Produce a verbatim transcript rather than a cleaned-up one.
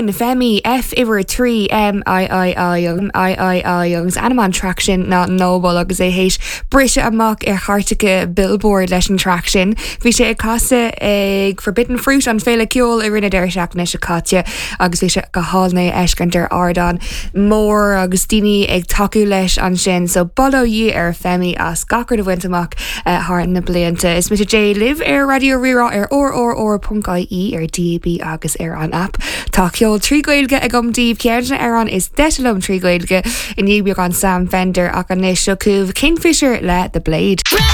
Sin Femi F uimhir trí M I I I I I I agus ainm an track sin ná Noble agus é théis briseadh amach ar chairteacha Billboard leis an track sin. Bhí sé ag casadh ag Forbidden Fruit an féile ceoil i rith an deireadh seachtaine seo caite agus bhí sé go hálainn é a fheiscint ar ardán mór agus daoine ag tacú leis ansin, so bail ó Dhia ar Femi as gach rud a bhaint amach uh, thar na blianta. Is mise Jay libh ar Raidió Rí-Rá ar rrr.ie ar DAB agus ar an app. Tá ceol trí Ghaeilge agam daoibh ceann ar an is deise liom trí Ghaeilge i ndiaidh beagán Sam Fender ach anois seo chugaibh Kingfisher le The Blade.